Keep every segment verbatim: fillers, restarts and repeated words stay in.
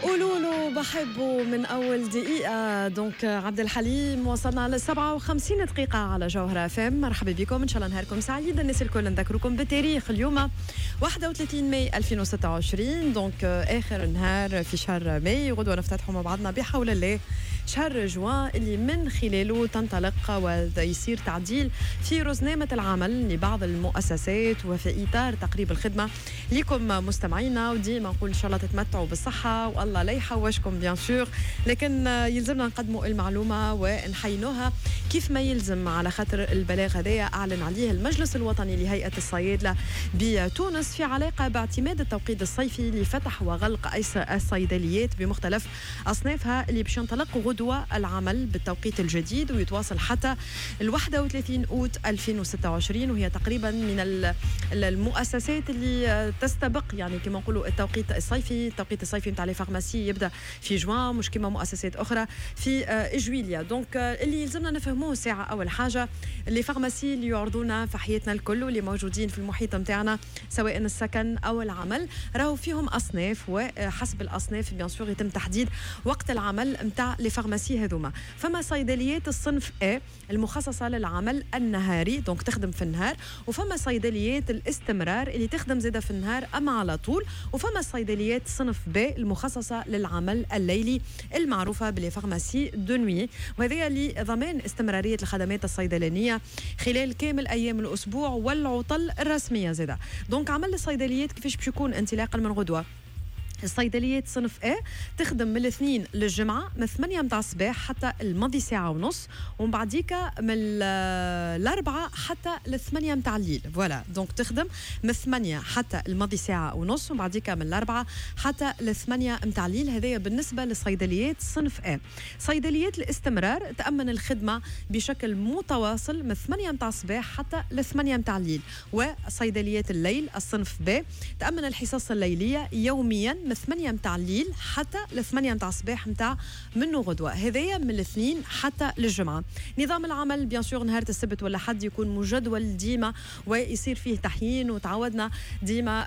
قولوا له بحبه من اول دقيقه. donc عبد الحليم، وصلنا ل سبعة وخمسين دقيقة على جوهره اف ام. مرحبا بكم، ان شاء الله نهاركم سعيد الناس الكل. نذكركم بالتاريخ، اليوم واحد وثلاثين ماي ألفين وستة وعشرين، donc اخر نهار في شهر ماي. غدوه نفتتحوا مع بعضنا بحول الله شهر جوان، اللي من خلاله تنطلق ويصير تعديل في رزنامة العمل لبعض المؤسسات، وفي إطار تقريب الخدمة لكم مستمعينا. وديما نقول إن شاء الله تتمتعوا بالصحة والله لا يحوشكم bien sûr، لكن يلزمنا نقدموا المعلومة ونحينوها كيف ما يلزم، على خاطر البلاغ هذايا أعلن عليه المجلس الوطني لهيئة الصيادلة بتونس في علاقة باعتماد التوقيت الصيفي لفتح وغلق الصيدليات بمختلف أصنافها، اللي باش ينطلق غدوة العمل بالتوقيت الجديد ويتواصل حتى ال واحد وثلاثين أوت ألفين وستة وعشرين. وهي تقريبا من المؤسسات اللي تستبق، يعني كما نقولوا، التوقيت الصيفي. التوقيت الصيفي نتاع les pharmacies يبدا في جوان، مش كما مؤسسات اخرى في جويليا. donc اللي يلزمنا نفهموه ساعه، اول حاجة les pharmacies اللي يعرضونا في حياتنا الكل واللي موجودين في المحيط نتاعنا، سواء السكن او العمل، راهو فيهم اصناف، وحسب الاصناف bien sûr يتم تحديد وقت العمل نتاع les pharmacies هذوما. فما صيدليات الصنف A المخصصة للعمل النهاري، donc تخدم في النهار، وفما صيدليات الاستمرار اللي تخدم زاده في النهار اما على طول، وفما صيدليات صنف B المخصصة للعمل الليلي المعروفة ب les pharmacies de nuit، وهذا لضمان استمرارية الخدمات الصيدلانيه خلال كامل ايام الاسبوع والعطل الرسمية زاده. donc عمل الصيدليات كيفاش باش يكون انطلاقا من غدوه؟ الصيدليات صنف A تخدم من الاثنين للجمعة من ثمانية متاع الصباح حتى الماضي ساعة ونص، ومن بعديك من الأربعة حتى الثمانية متاع الليل. voilà، donc تخدم من ثمانية حتى الماضي ساعة ونص، ومن بعديك من الأربعة حتى الثمانية متاع الليل. هذايا بالنسبة للصيدليات صنف A. صيدليات الاستمرار تأمن الخدمة بشكل متواصل من ثمانية متاع الصباح حتى الثمانية متاع الليل. وصيدليات الليل الصنف B تأمن الحصص الليلية يوميا من ثمانية متاع الليل حتى ل ثمانية متاع الصباح متاع منه غدوة. هذايا من الاثنين حتى للجمعة. نظام العمل bien sûr نهار السبت والأحد يكون مجدول ديما ويصير فيه تحيين، وتعودنا ديما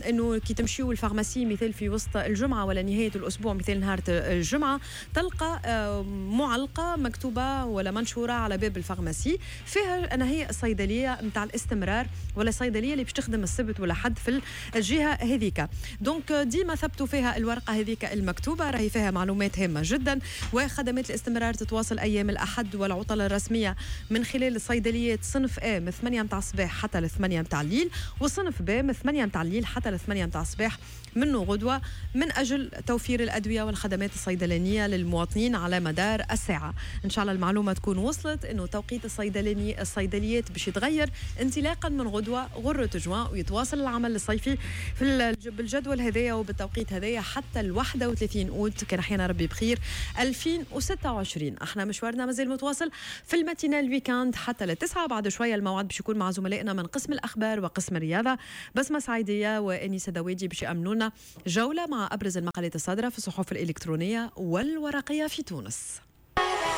انه كي تمشيو ال pharmacie مثال في وسط الجمعة ولا نهاية الأسبوع، مثال نهار الجمعة، تلقى معلقة مكتوبة ولا منشورة على باب ال pharmacie فيها أنا هي الصيدلية متاع الاستمرار ولا الصيدلية اللي باش تخدم السبت ولا حد في الجهة هذيك. donc ديما ثبتوا فيها الورقة هذيك المكتوبة، راهي فيها معلومات هامة جدا. وخدمات الاستمرار تتواصل أيام الأحد والعطل الرسمية من خلال الصيدليات صنف A من ثمانية متاع الصباح حتى ل ثمانية متاع الليل، وصنف B من ثمانية متاع الليل حتى ل ثمانية متاع الصباح منه غدوة، من أجل توفير الأدوية والخدمات الصيدلانية للمواطنين على مدار الساعة. إن شاء الله المعلومة تكون وصلت، أنه توقيت الصيدلاني الصيدليات باش يتغير انطلاقا من غدوة غرة جوان، ويتواصل العمل الصيفي في بالجدول هذايا وبالتوقيت هذايا حتى ال واحد وثلاثين أوت، كان حيانا ربي بخير، ألفين وستة وعشرين. احنا مشوارنا مازال متواصل في ال matinale week-end حتى للتسعة. بعد شوية الموعد باش يكون مع زملائنا من قسم الأخبار وقسم الرياضة، بسمة سعيدية وأنيسة دوادي، باش يأمنونا جولة مع أبرز المقالات الصادرة في الصحف الإلكترونية والورقية في تونس.